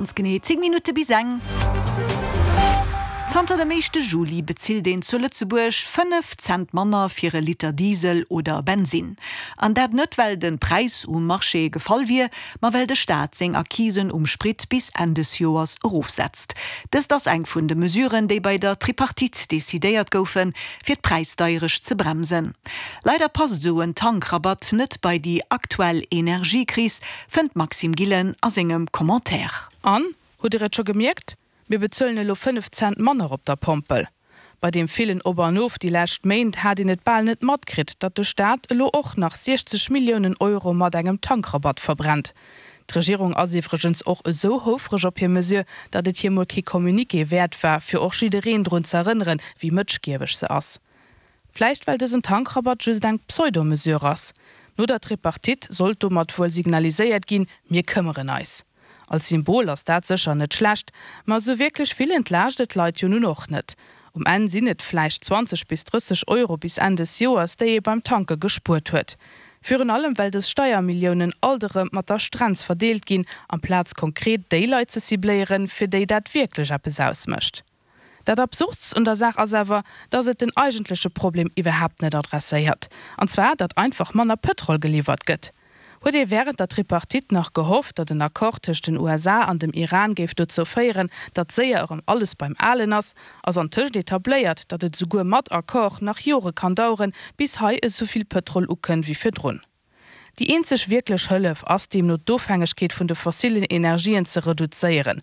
Ganz genee 10 Minutte bis eng. Zanter dem éischte Juli bezilt een zu Lëtzebuerg 5 Cent manner fir e Liter Diesel oder Bensinn. An dat net well de Präis um Marché gefall wier, ma well de Staat seng Acquisen um Sprit bis Enn des Joers erofsetzt. Dëst ass eng vun de Mesuren, déi bei der Tripartite decidéiert goufen, fir d'Präisdeierecht ze bremsen. Leider passt esou en Tankrabatt net bei déi aktuell Energiekris, fënnt d'Maxime Gillen a sengem Commentaire. An, hutt Dir et scho gemierkt? Mir bezuelen elo 5 Cent manner op der Pompel. Bei deem villen Op an Of déi lescht Méint hat een et bal net matkritt, datt de Staat elo och nach 60 Milliounen Euro mat engem Tankrabatt verbrennt. D'Regierung ass iwwregens och esou houfreg op hir Mesure, datt et hir mol kee Communiqué wäert war, fir och jiddereen drun z'erënneren, wéi mëtschgieweg se ass. Vläicht well dësen Tankrabatt just eng Pseudo-Mesure ass. No der Tripartite sollt domat wuel signaliséiert ginn, Mir këmmeren eis. Als Symbol ass dat sécher net schlecht, ma esou wierklech vill entlaascht et d'Leit jo nun och net. Um Enn sinn et vläicht 20 bis 30 Euro bis Enn des Joers, déi ee beim Tanke gespuert huet. Virun allem well dës Steiermilliounen alt erëm mat der Strenz verdeelt ginn, amplaz konkret déi Leit ze cibléieren, fir déi dat wierklech eppes ausmécht. Dat Absurdst un der Saach ass awer, datt et den eigentleche Problem iwwerhaapt net adresséiert, an zwar datt einfach manner Pëtrol geliwwert gëtt. Huet ee wärend der Tripartite nach gehofft, datt en Accord tëscht den USA an dem Iran géif dozou féieren, datt séier erëm alles beim Alen ass, ass antëscht etabléiert, datt et esouguer mat Accord nach Jore kann daueren, bis hei esouvill Pëtrol ukënnt wéi virdrun. Déi eenzeg wierklech Hëllef ass deemno d'Ofhängegkeet vun de fossilen Energien ze reduzéieren.